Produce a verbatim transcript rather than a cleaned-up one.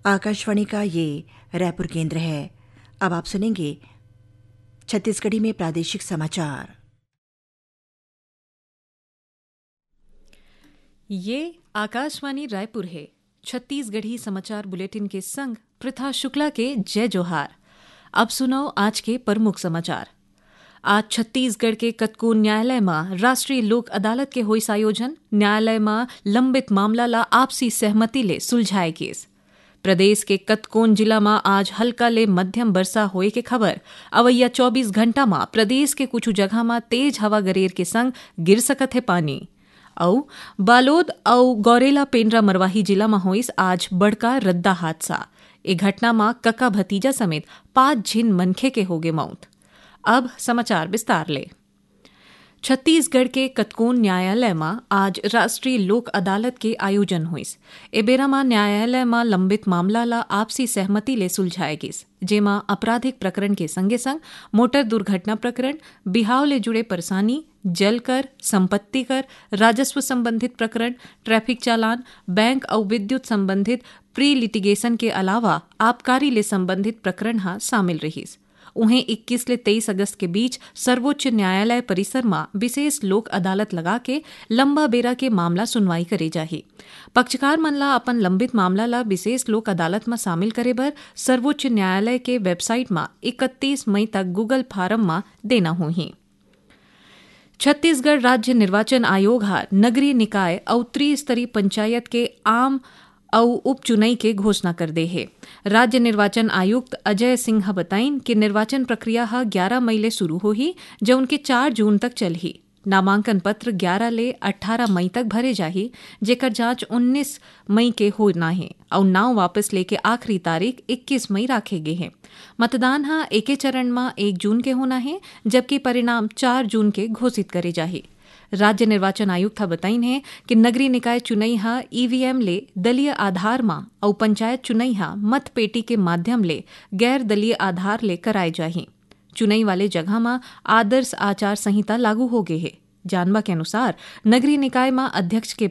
आकाशवाणी का ये रायपुर केंद्र है। अब आप सुनेंगे छत्तीसगढ़ी में प्रादेशिक समाचार। ये आकाशवाणी रायपुर है। छत्तीसगढ़ी समाचार बुलेटिन के संग पृथा शुक्ला के जय जोहार। अब सुनव आज के प्रमुख समाचार। आज छत्तीसगढ़ के कतकोन न्यायालय म राष्ट्रीय लोक अदालत के होइस आयोजन। न्यायालय म लंबित मामला ला आपसी सहमति ले सुलझाए गेस। प्रदेश के कतकोन जिला म आज हल्का ले मध्यम बरसा होए के खबर। अवइया चौबीस घंटा म प्रदेश के कुछु जगह म तेज हवा गरेर के संग गिर सकत हे पानी। अउ बालोद अउ गौरेला पेंड्रा मरवाही जिला म होइस आज बड़का रद्दा हादसा। ए घटना म कका भतीजा समेत पांच झिन मनखे के होगे मौत। अब समाचार विस्तार ले। छत्तीसगढ़ के कतकोन न्यायालय म आज राष्ट्रीय लोक अदालत के आयोजन होइस। ए बेरा म न्यायालय म लंबित मामला ल आपसी सहमति ले सुलझाए गिस, जेमा आपराधिक प्रकरण के संगे-संग मोटर दुर्घटना प्रकरण, बिहाव ले जुड़े परेशानी, जल कर, संपत्ति कर, राजस्व संबंधित प्रकरण, ट्रैफिक चालान, बैंक अउ विद्युत संबंधित प्री लिटिगेशन के अलावा आबकारी ले संबंधित प्रकरण ह शामिल रिहिस। उहें, इक्कीस ले तेईस अगस्त के बीच सर्वोच्च न्यायालय परिसर म विशेष लोक अदालत लगा के लंबा बेरा के मामला सुनवाई करे जाही। पक्षकार मन ला अपन लंबित मामला ला विशेष लोक अदालत म शामिल करे बर सर्वोच्च न्यायालय के वेबसाइट म इकतीस मई तक Google फॉर्म म देना होही। छत्तीसगढ़ राज्य निर्वाचन आयोग ह नगरीय निकाय अउ त्रिस्तरीय पंचायत के आम अउ उपचुनई के घोषणा कर दे हे। राज्य निर्वाचन आयुक्त अजय सिंह ह बताइन कि निर्वाचन प्रक्रिया ह ग्यारा मई ले शुरू होही, जउन के चार जून तक चलही। नामांकन पत्र ग्यारा ले अट्ठारह मई तक भरे जाही, जेकर जांच उन्नीस मई के होना हे अउ नांव वापस लेके आखिरी तारीख इक्कीस मई राखे गे हे। मतदान ह एके चरण म एक जून के होना हे, जबकि परिणाम चार जून के घोषित करे जाही। राज्य निर्वाचन आयुक्त ह बताइन हे कि नगरीय निकाय चुनई ह ईवीएम ले दलीय आधार म अउ पंचायत चुनई ह मतपेटी के माध्यम ले गैर दलीय आधार ले कराए जाही। चुनई वाले जगह म आदर्श आचार संहिता लागू होगे हे। जानबा के अनुसार, नगरीय निकाय म अध्यक्ष के